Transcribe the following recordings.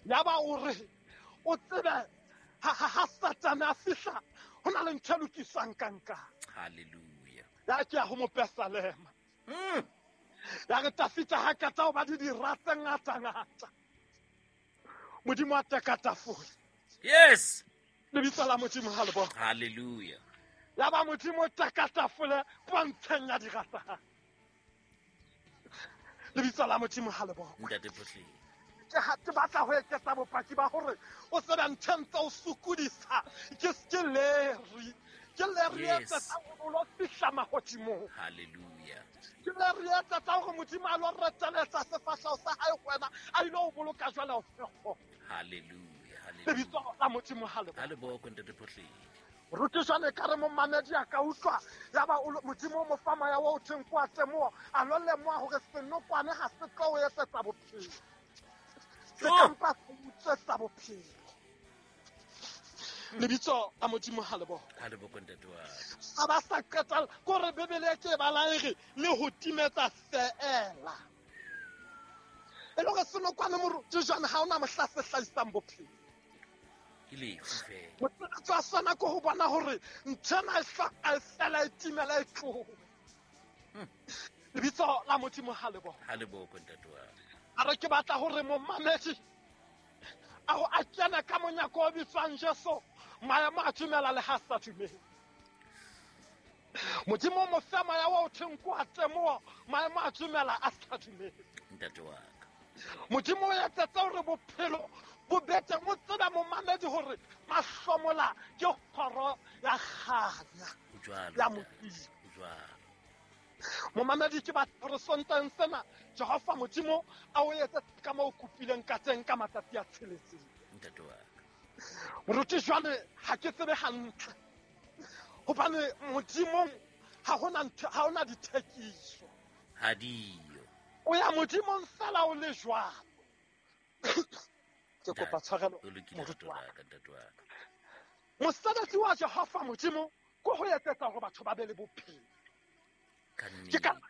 Yaba o re o tsebe ha Satane a fihla ho na le ntho e lokiswang ka nkang. Hallelujah. Ya ke ya ho mopesalema. Ya re Tafita ha kata ho ba di dira tse ngata-ngata. Modimo a teka tafole. Yes. Lebitso la Modimo ha le bone. Hallelujah. Ya ba Modimo o teka tafole pontsheng ya dira tsa hae. Lebitso la Modimo ha le bone. Ntate Phohleng. Ke batla ho eketsa bopaki ba hore o tsebe ntho e ntse o sokodisa ke leri. Ke leri e etsetsa hore o lo fihla mahodimong. Hallelujah. Ke leri e etsetsa hore Modimo a lo reteletsa sefahleho sa hae ho wena, a ile ho boloka jwale o fe Hallelujah. Hallelujah. Lebitso la Modimo ha le Ha le bokwe, Ntate Phohleng. Moruti jwale ka re momamedi a ka utlwa ya ba Modimo o mo fa moya o thweng kwa temoho, a lo lemoha hore senokwane ha se tlo o etsetsa bophelo. Se ka mpa se utswetsa bophelo. Lebitso la Modimo ha le bokwe. Ha le bokwe, Ntate wa ka. Sa ba sa qetella kore Bibele e ke e bala e re le ho timetsa feela. E le hore senokwane moruti jwale ha ona mohla se hlahisang bophelo. Ke lefu feela. Mosebetsi wa sona ke ho bona hore ntho ena e hloka e fela e timela e tlohe. Lebitso la Modimo ha le bokwe. Ha le bokwe, Ntate wa ka. A re ke batla hore momamedi a ho a kena ka monyako o bitswang Jesu, maemo a dumela le ha sa dumele. Modimo o mo fe moya wa o thweng ke wa temoho, maemo a dumela a sa dumele. Ntate wa ka. Modimo o etsetse hore bophelo bo be teng, o tsebe momamedi hore mahlomola ke kgoro ya kganya ya Modimo. Momamedi ke batla hore Sontaheng sena Jehova Modimo a o etse ka moo o kopileng ka teng ka matsatsi a tsheletseng. Ntate wa ka. Moruti jwale ha ke tsebe hantle hobane Modimong ha hona ntho, ha hona dithekiso. Ha diyo. O ya Modimong fela o le jwalo. Ke kopa tshwarelo, O lokile, moruti wa ntate wa ka, ntate wa ka. Mosebetsi wa Jehova Modimo ke ho etsetsa hore batho ba be le bophelo. Ka Ke ka nnete.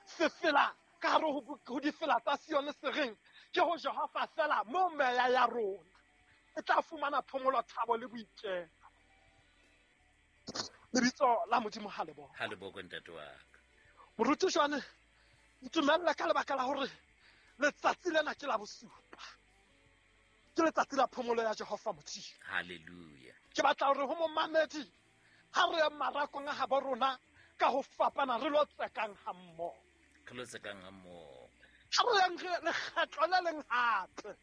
sefela ka hare ho difela tsa Sione se reng ke ho Jehova fela mo meya ya rona e tla fumana phomolo, thabo le boiketlo. Lebitso la Modimo ha le bokwe. Ha le bokwe, ntate wa ka. Moruti jwale ntumelle ka lebaka la hore letsatsi lena ke la bosupa. Ke letsatsi la phomolo ya Jehova Modimo. Hallelujah. Ke batla hore ho momamedi ha re ye marakong a habo rona ka ho fapana re lo tsekang ha mmoho. Re lo tsekang ha mmoho. Ha re yang re lekgetlo le leng hape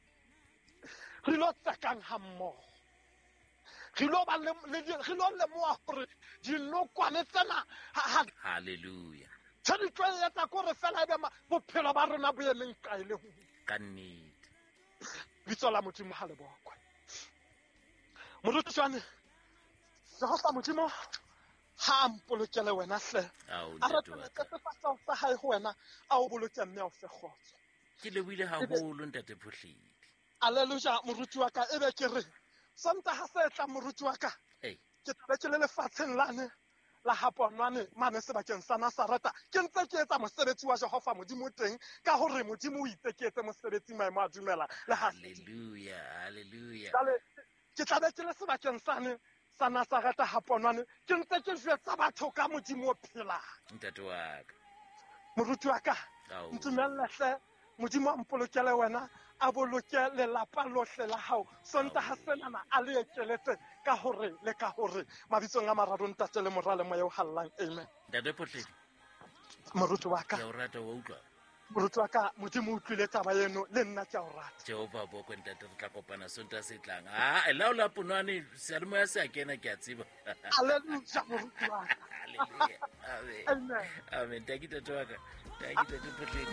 re lo tsekang ha mmoho. Re lo ba le, le, re lo lemoha hore dinokwane tsena ha, ha Hallelujah. Tse di tlo etsa ke hore fela ebe bophelo ba rona bo emeng kae le ho. Ka nnete. Bitso la Modimo ha le bokwe. Moruti jwale, Jehova Modimo ha a mpolokele wena hle. Ao, A ntate wa retele ka. sefahleho sa hae ho wena, a o boloke mme a o fe kgotso. Ke lebohile haholo, ntate Phohledi. Alleluia, moruti wa ka, ebe ke re, Sontaha se tlang moruti wa ka, Ei. ke tla be ke le lefatsheng lane la ha Ponwane mane sebakeng sa Nazareta, ke ntse ke etsa mosebetsi wa Jehova Modimo teng, ka hore Modimo o itse ke etse mosebetsi maemo a dumela le ha se. Hallelujah, hallelujah. Jwale ke tla be ke le sebakeng sane sa Nazareta ha Ponwane, ke ntse ke jwetsa batho ka Modimo o phelang. Ntate wa ka. Moruti wa ka, Ao. ntumelle hle, Modimo a mpolokele wena, a boloke lelapa lohle la hao. Sontaha senana a le ekeletse ka hore le ka hore mabitsong a mararo Ntate le Mora le Moya o Hallang. Amen. Ntate Phohledi. Moruti wa ka. Ke a o rata, wa utlwa? Moruti wa ka, Modimo o utlwile taba eno, le nna ke a o rata. Jehova bokwe ntate, re tla kopana Sontaha se tlang. Ah, la o la Ponwane, seyalemoya se a kena, ke a tseba. Hallelujah, moruti wa ka. Hallelujah. Amen. Amen. Amen. Taki tate wa ka. Taki tate Phohledi.